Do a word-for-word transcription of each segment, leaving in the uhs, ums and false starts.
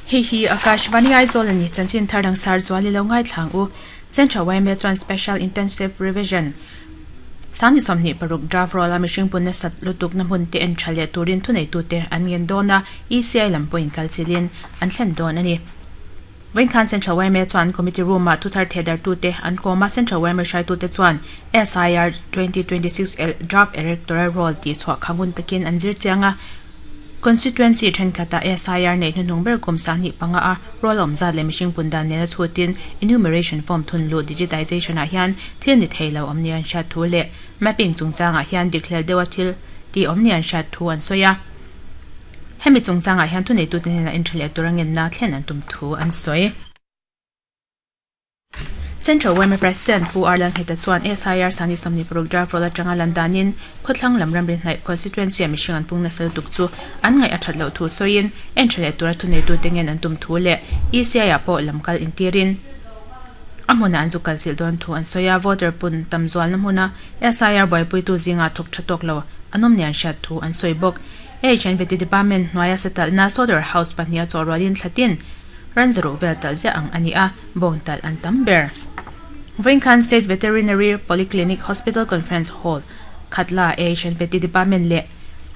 Hei hi Akashvani Aizawl ani chanchin thar dang sar zuali lo ngai thlang u Central Y M A chuan Special Intensive Revision sangni sawmhnih paruk draft roll a mihring punna sat lutuk na hmun te en tha leh turin thunei tu te an ngen dawn a, E C I lam pawhin kal chilin an thlen dawn ani. Vawiin khan Central Y M A chuan committee room ah thuthar thedar tu te an kawma. Central Y M A hruaitu te chuan S I R twenty twenty-six draft electoral roll tih chhuah khangun takin an zir chianga. Constituency thenkhatah S I R nei hnuhnung ber kum sahnih panga a roll awm zat leh mihring pundan nena chhutin enumeration form thun lu digitization ah hian thil ni theilo awm ni an hriat thu leh mapping chungchangah hian dik hlel deuha thil ti awm ni an hriat thu an sawi a. Hemi chungchangah hian thunei tu te hnenah intha leh tur a ngenna thlen an tum thu an sawi. Central Y M A President Pu Arlan Heta chuan S I R sani sawmni paruk draft roll atanga landanin khawthlang lam ramri hnaih constituency a mihring an pung nasa lutuk chu an ngaih a that loh thu sawiin entha leh tura thunei tu te ngen an tum thu leh E C I ah pawh lamkal intirin a hmunah an zu kal chilh dawn thu an sawi a. Voter pun tam zualna hmuna S I R buaipuitu zinga thawk tha tawk lo an awm ni an hriat thu an sawi bawk. H N V T Department hnuaia satalhna slaughter house pahnih a chawhrualin thlatin ran zaruh vel talh ziah ang ani a, bawng talh an tam ber. Vawiin khan State Veterinary Polyclinic Hospital Conference Hall Khatla H N V T Department leh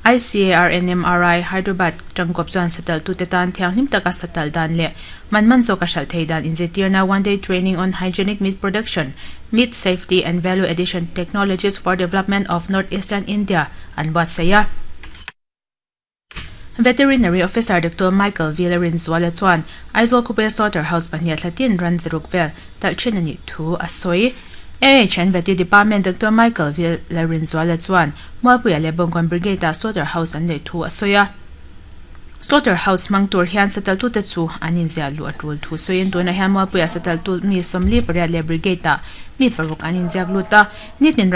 I C A R N M R I Hyderabad tangkawp chuan satalh tu te tan thianghlim taka satalh dan leh man man zawk a hralh thei dan inzirtirna one day training on hygienic meat production, meat safety and value addition technologies for development of North Eastern India an buatsaih a. Veterinary Officer Doctor Michael Villarin Zuala chuan Aizawl khawpui slaughter house pahnih thlatin ran zaruk vel talh thin ani thu a sawi. A H N V T Department Doctor Michael Villarin Zuala chuan Mualpuia leh Bawngkawn Brigade ah slaughter house an nei thu a sawi a. Slaughter house hmang tur hian satal tu te chu an inziah luh a tul thu sawiin tunah hian Mualpuia satal tu mi sawmli pariat leh brigade ah mi paruk an inziak lut a nitin.